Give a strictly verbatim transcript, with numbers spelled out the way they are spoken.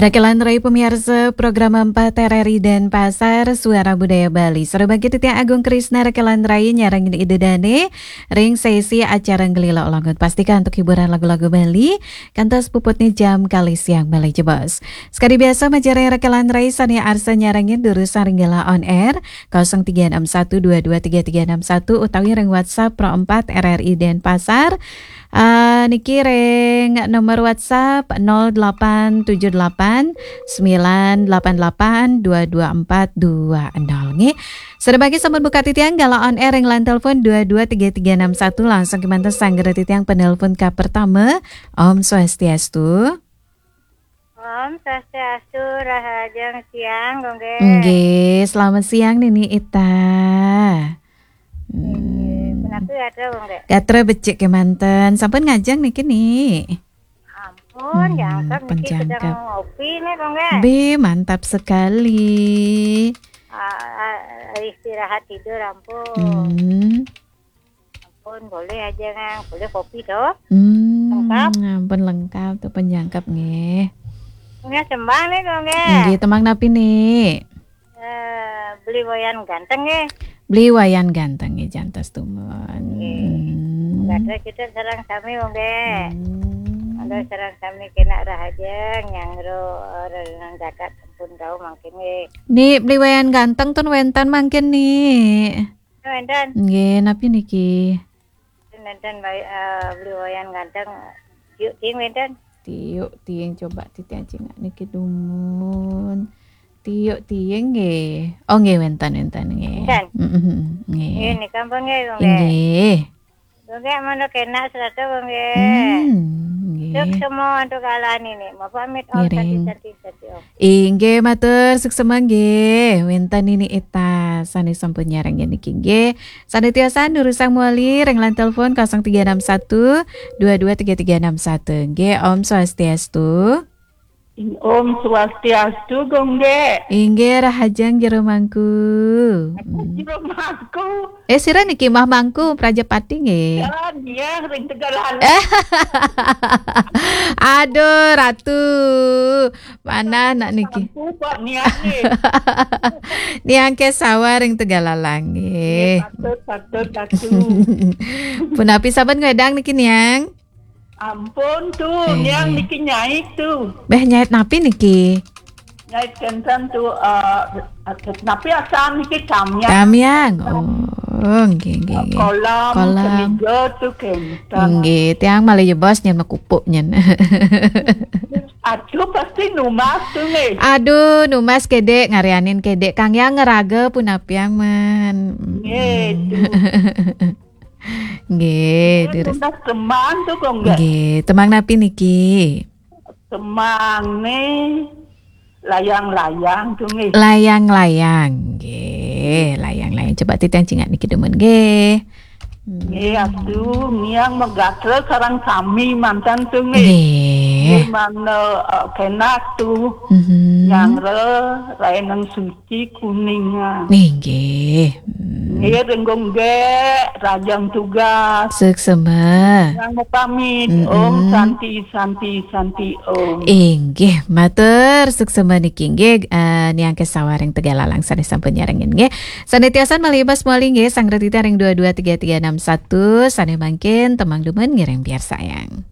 Rekelan rai pamiarsa program empat R R I Denpasar, Suara Budaya Bali. Sareng bangkit titiang Agung Krisna rekelan rai nyarengin Ida Dane ring sesi acara Ngelila Olangun. Pastika antuk hiburan lagu-lagu Bali, kantos puputne jam kalih siang malih jebos. Sakadi biasa, majeng ring rekelan rai sane arsa nyarengin durusang ring galah on air, kosong tiga enam satu dua dua tiga tiga enam satu, utawi ring WhatsApp Pro empat R R I Denpasar. Ah, niki ring nomor WhatsApp nol delapan tujuh delapan sembilan delapan delapan dua dua empat dua nol, nggih. Sareng bangkit sampun buka titiang galah on air ring line telepon dua dua tiga tiga enam satu, langsung kemanten sanggra titiang penelpon ka pertama. Om Swastiastu. Om Swastiastu, rahajeng siang, Gung Gé. Nggih, selamat siang, Nini Ita. Nggih, hmm. Punapi gatra, Gung Gé? Gatra becik kemanten. Sampun ngajeng niki, Ni? Ampun, hmm, jangkep niki, pun sedeng jangkep. Ngopi nih, Gung Gé. Be, mantap sekali. Ah, ah, istirahat tidur, ampun. Hmm. Ampun, boleh aja, Ngang. Boleh kopi, toh? Hmm, lengkap. Ampun, lengkap tuh, pun jangkep, nggih. Nggih, tembang nih, Gung Gé. Nggih, tembang napi, Ni? Eh, Beli Wayan Ganteng, nggih. Beli Wayan Ganteng, nggih, jantos tumun. Nggih. Hmm. Gatra kita sareng sami, Gung Gé. Hmm. Ada sareng sami kena rahajeng, nyangro, eh, renang jagat pun tahu mangkin, nggih. Ni, Beli Wayan Ganteng tun wénten mangkin, Ni? Wénten. Nggih, napi niki? Wénten, Mbak, eh, Beli Wayan Ganteng. Yuk, ting wénten. Tiuk tiing, coba titiang cingak niki dumun. Tiuk tiing nggih. Oh, nggih, wénten, wénten nggih. Wénten. Mm-mm, nggih. Nggih, nika ampun nggih, Gung Gé. Nggih. Gung Gé, mangda kena serata, Gung Gé. Hmm, nggih. Suksma antuk galah niki. Mapamit, Om Santi, ngiring. Santi, Santi, Om. Inggih, matur suksma nggih. Wénten Nini Ita sané sampun nyarengin niki nggih. Sané tiosan durusang malih ring line telepon kosong tiga enam satu dua dua tiga tiga enam satu. Nggih, Om Swastiastu. Om Swastiastu, Gung Gé. Inggih, rahajeng jero mangku. Aku hmm. Jero mangku. Eh, sira niki Mah Mangku, Prajapati nggih. Ya, dia ring Tegallalang. Aduh, Ratu. Manah nak niki. Mangku kok niat nih. Niang Kesawa ring Tegallalang nggih. Nggih, patut, patut, patut. Punapi sampun ngwedang niki, Niang? Ampun tuh, eh. Niang niki nyait tuh. Béh, nyait napi niki? Nyait kénten tuh, eh, napi asan niki, tamiang. Tamiang. Oh, nggih, nggih, nggih. Kolam, kolam. Seniga tuh kénten. Nggih, tiang malih jebos nyén makupuk nyén. Aduh, pasti numbas tuh nggih. Aduh, numbas kedék, ngarianin kedék. Kang Yang ngeraga punapiang men. Nggih, tuh. Nggih, eh, durus. Numbas tembang tuh, Gung Gé. Nggih, tembang napi niki? Tembang nih, layang-layang tuh nggih. Layang-layang, nggih, layang-layang. Coba titiang cingak niki dumun nggih. Hmm. Nggih, aduh, niang magatra sareng sami manten tuh nggih. Nggih. Nggih, mangda, eh, kénak tuh. Mhm. Nyanggra Raineng Suci Kuningan. Nggih. Hmm. Nggih, ring Gung Gé, rahajeng tugas. Suksma. Yang pamit, mm-mm. Om Santi, Santi, Santi, Om. Inggih, matur suksma niki nggih, eh, Niang Kesawa ring Tegallalang sané sampun nyarengin nggih. Sané tiosan malih jebos malih nggih, sanggra titiang ring dua dua tiga tiga enam satu, sané mangkin tembang dumun ngiring piarsayang.